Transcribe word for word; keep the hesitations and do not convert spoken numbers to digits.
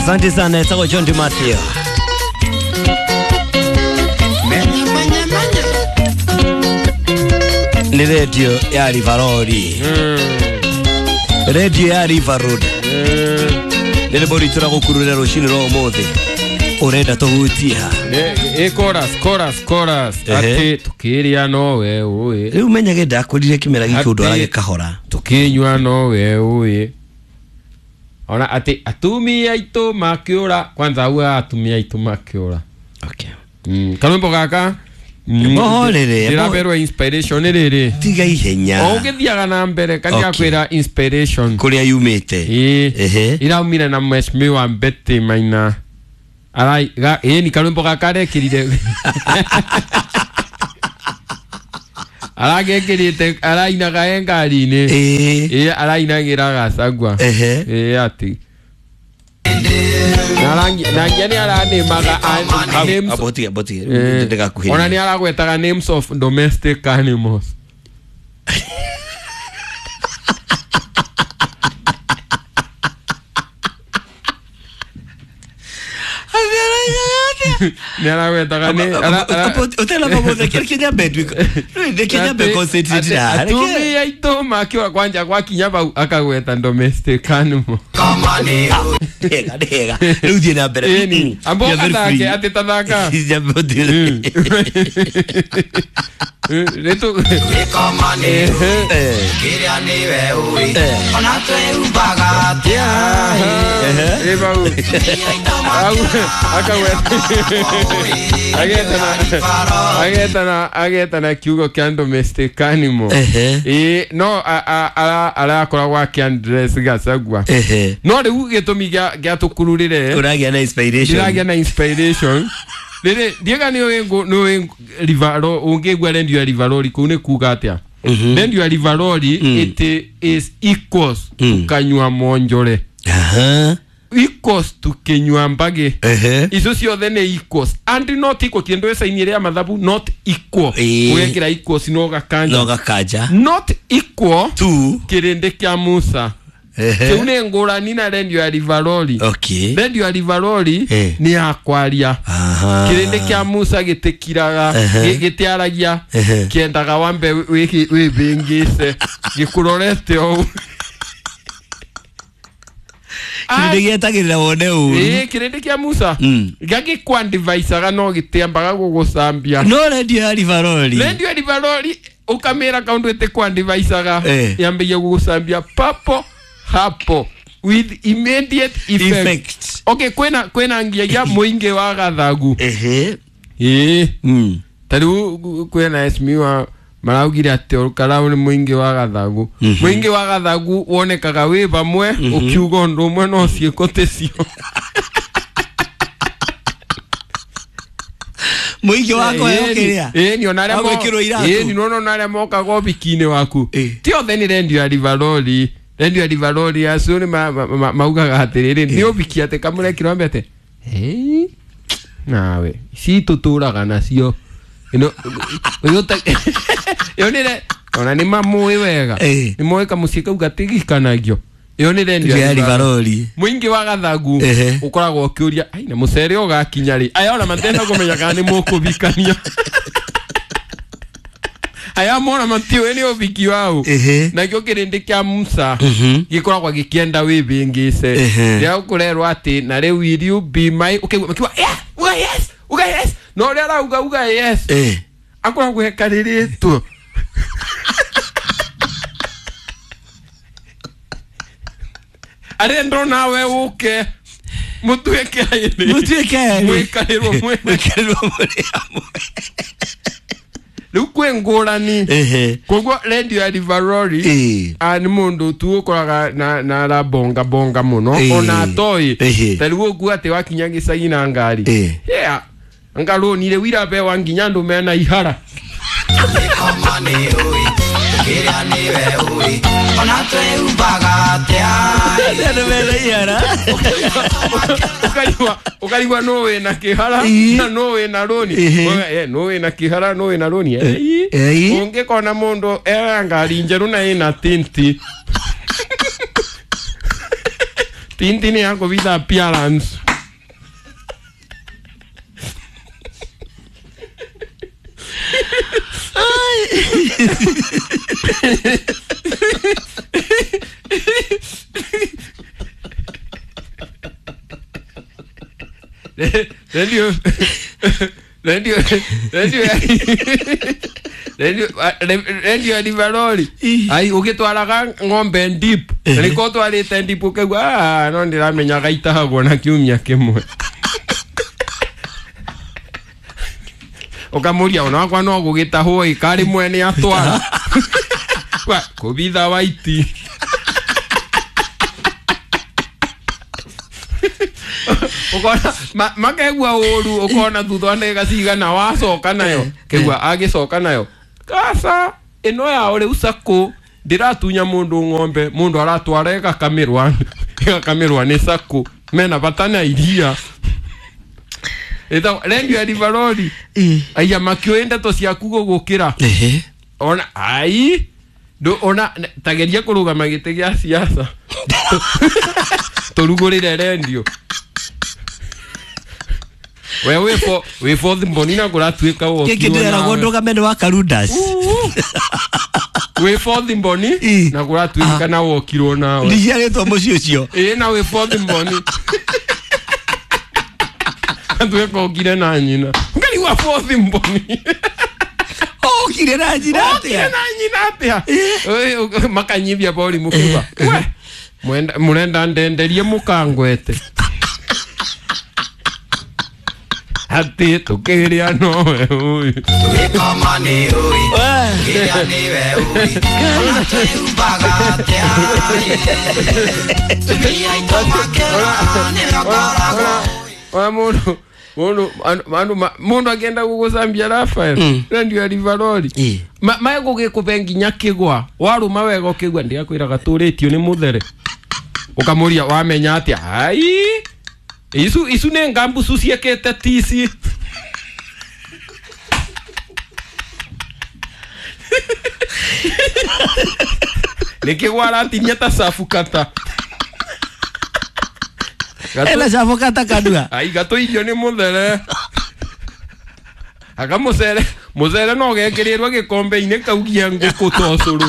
Asante sana etagwo John Di Matteo. Ni radio ya Rivaroli. Radio ya River Road. Nĩ rĩmbo ritũ ra gũkururĩra rũcinĩ rwa ũmũthĩ. Ũrenda tũhutie ha? Ĩ chorus chorus chorus atĩ tukĩrĩa nowe ũĩ. Rĩu menyage ndakwĩrire kĩmera gĩkĩ ũndũ aragĩkahora. Tukĩnyua nowe ũĩ. Ona atĩ atumia aitũ makĩũra kwanza auga atumia aitũ makĩũra. Okay. Mm, karwĩmbo gaka Bohorere ndĩraberwo inspiration rĩrĩ tiga ihenya o ũgĩthiaga na mbere kandi akwĩra inspiration kũrĩa yumĩte. Ĩĩ iraumire na mheshimiwa Betty Maina arai ĩĩ ni karwĩmbo gaka arekĩrire aragekĩrĩte arainaga e ngari-inĩ. Ĩĩ arainagĩra Gachagua. Ĩĩ atĩ na ngia nĩ aranĩmaga ona nĩ aragwetaga names of domestic animals. Nĩ aragwetaga nĩ ũtena mamũthe kĩrĩa nyambe nduĩke nyambe concentrate na atumia aitũ makĩũra kwanja gwakinya bau akagweta domestic animal. Ndega ndega rĩu thiĩ na mbere. Ĩni ambo gathake atĩ tathaka rĩtũ kĩrĩa nĩwe ũĩ ona twĩhumbaga atĩa ĩ bau agetana agetana kiugo kĩa domestic animal. Ĩ no arakoragwo akĩaddress Gachagua. No rĩu gĩtũmi gĩa tũkururĩre ũragĩa na inspiration ndĩragĩa na inspiration rĩrĩ ndiega nĩ ũĩ Rivaroli ũngĩigua rendio ya Rivaroli kũu nĩ kuga atĩa? Rendio ya Rivaroli it is equals tukanyua monjore. Equals tukinyua mbage. Icio ciothe nĩ equals and not equal kĩndũ ecaini ĩrĩa mathabu not equal ũgekĩra equals no gakanja no gakanja not equal to kĩrĩndĩ kĩa Musa. Kĩu nĩ ngũrani na rendio ya Rivaroli. Okay. Rendio ya Rivaroli nĩ ya kwaria. Kĩrĩndĩ kĩa Musa gĩtĩkiraga gĩtiaragia kĩendaga wambe wĩbĩngĩce gĩkũrorete ũũ. Kĩrĩndĩ gĩetagĩrĩra wone ũru. Ĩĩ kĩrĩndĩ kĩa Musa gagĩkwandivaicaga no gĩtiambaga gũgũcambia. No rendio ya Rivaroli rendio ya Rivaroli ũkamĩra kaũndũ ĩtĩkwandivaicaga yambagia gũgũcambia papo hapo with immediate effect. Effect. Okay, kwena kwena ngiagia muingi wa gathagu. Ehe. Eh. Mm. Tariu kwena mheshimiwa maraugire ati Olkarau ni muingi wa gathagu. Mm -hmm. Muingi wa gathagu wonekaga wi vamwe mm -hmm. ukiuga undu umwe no ciiko ticio. Muingi wako yokiria. Eh, ni ona aria mo. Eh, ni no aria mokaga obiki-inĩ waku. Ti othe ni rendio ya Rivaroli. Rendio ya Rivaroli acio nĩ maugaga atĩrĩrĩ nĩ ũbiki atĩ kamũrekĩrwo ambe atĩ hey nawe ici tũtũraga nacio ĩno ĩyo nĩ ona nĩ mamũĩ wega nĩ moĩ kamũciĩ kau gatigikanagio ĩyo nĩ rendio ya Rivaroli. Mũingĩ wa gathagu ũkoragwo ũkĩũria ai na mũcere ũgakinya rĩ aya ona matenda kũmenya kana nĩ mũkũbikania. Aya mona matiũĩ nĩ ũbiki wau nakĩo kĩrĩndĩ kĩa Musa gĩkoragwo gĩkĩenda wĩbĩngĩce rĩrĩa ũkũrerwo atĩ na rĩu will you be my ũkaigua makiuga yeah uga yes uga yes no ũrĩa arauga uga yes akoragwo ekarĩrĩtwo arenda nawe ũke mũtuĩke aĩrĩ mũtuĩke aĩrĩ mwĩkarĩrwo mwĩkarĩrwo mũrĩ hamwe. Rĩu kwĩ ngũrani koguo rendio ya Rivaroli nĩ mũndũ tu ũkoraga na arabonga bonga mũno ona atoĩ ta rĩu ũguo atĩ wakinya gĩcagi na ngari yeah ngarũnire wirabewa nginya andũ mena ihara. Kĩrĩa nĩwe ũĩ ona twĩhumbaga atĩa andũ mena ihara ũkaigua ũkaigua no wĩna kĩhara na no wĩna rũni no wĩna kĩhara no wĩna rũni ũngĩkona mũndũ ena ngari njerũ na ĩna tinti tinti nĩ ya kũbitha appearance. Rendio rendio rendio rendio rendio ya Liveroli ai ugitwaraga ng'ombe deep niko twarite deep ukaigua ah no ndiramenyaga itahagwo na kiumia kimwe ukamuria ona wakwa no gugitahwo ikari mwene atwara kwa kubitha waiti ukona makegua uru ukona thutha ndagika cigana wacoka nayo kegua agicoka nayo kasa ino yao riu sako ndiratunya mundu ng'ombe mundu aratwara igakamirwa igakamirwa ni sako mena bata na iria ita rendio ya Liveroli aya makioe ndeto ciaku gugukira ona ai ndu ona tageria kurugama giti gia siasa turugurire rendio we we for we for the mbonina kuratuika wo kiki ndira gondoga mene wa Karundas we for the mboni na kuratuika na wokirwo nawe ndiciaritwo muciĩ ucio ĩ na we for the mboni atuika okire na nyina ngari wa for the mboni okire na nyina atia na nyina atia makanyibia bori mukuba we mwenda murenda ndenderie mukangwete ati tukiria nowe uyu tugikoma ni ui kiria niwe ui ona twĩhumbaga atĩa tumia aitũ makĩra nĩwe ona mundu mundu andu mundu akienda gugucambia Rafael rendio ya Liveroli maegugikube nginya kigwa waruma wega ukigua ndiakwiraga turitio ni muthere ukamuria wamenya atia ai isu isu ne ngambucu ciekete tici nikigwa aratinia ta cabu kata ena cabu kata kanua ai gatũirio nĩ mũthere aka mũcere mũcere no gekirirwo gĩkombe-inĩ kaugia ngũkũ ta ũcũrũ.